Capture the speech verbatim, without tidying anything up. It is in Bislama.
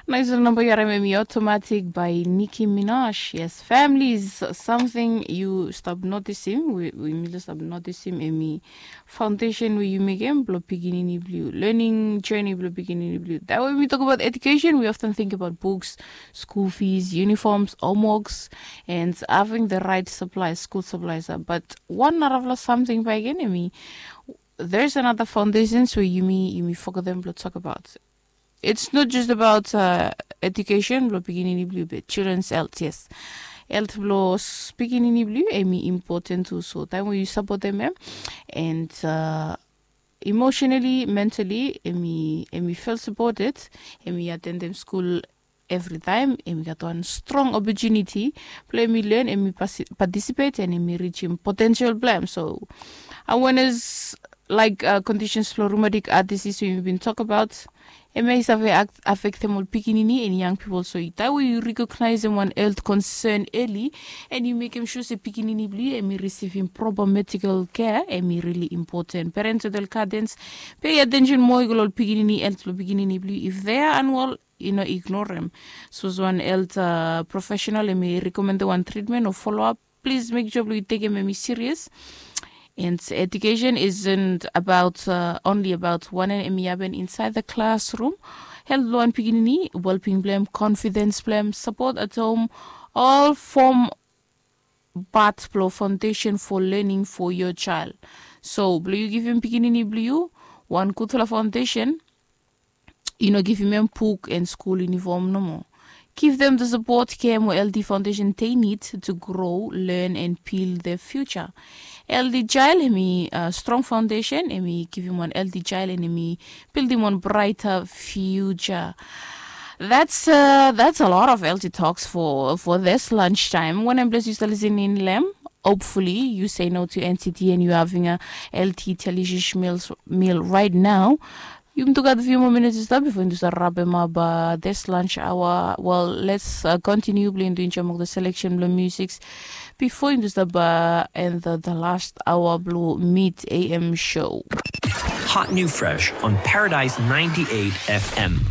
Nais ol namba yu harim em i Automatic by Nicki Minaj. Yes, families, something yu stap notisim, we, we mi stap notisim em i foundation we yu mekim blo pikinini blo yu, learning journey blo pikinini blo yu. That way we talk about education, we often think about books, school fees, uniforms, homeworks, and having the right supplies, school supplies. But one narafala something back in me, there's another foundations where yumi yumi forget them blo talk about. It's not just about uh, education blo pikinini blo yu, but children's health, yes. Health blo pikinini blo yu em i important too. So time where you support them, em, and uh, emotionally, mentally, em i em i feel supported, em i attend them school every time, em i gat one strong opportunity blo em i learn, em i participate, and em i reach im potential blo em. So awareness like uh, conditions blo rheumatic heart disease we been talk about, em i save affectem ol pikinini and young people. So that way you recognize em one health concern early, and you make em sure se pikinini blo yu em i receiving proper medical care, em i really important. Parents and guardians, pay attention more ol pikinini health blo pikinini blo yu. If they are unwell, you know, ignore them. So as one health uh, professional, em i recommend one treatment or follow up, please make sure you take him em i serious. And education isn't about uh, only about one and em i happen inside the classroom. Health blo one pikinini, well-being blo em, confidence blo em, support at home, all form part blo foundation for learning for your child. So blo yu givim pikinini blo yu one gudfala foundation, you know, givim em book and school uniform no more. Give them the support, care, mo L D foundation they need to grow, learn, and build their future. L D child, em i uh, strong foundation, em i givim one L D child, and em i building one brighter future. That's uh, that's a lot of L D talks for for this lunchtime. When I'm blessed, you still listening, Lem. Hopefully, you say no to N C T and you having a L T delicious meals, meal right now. Yumi tu gat few more minutes i stap before yumi tu stap wrap em up uh, this lunch hour. Well, let's uh, continue blo yumi tu enjoy mo the selection blo musics before yumi tu stap uh, and the, the last hour blo mid A M show. Hot new fresh on Paradise ninety-eight F M.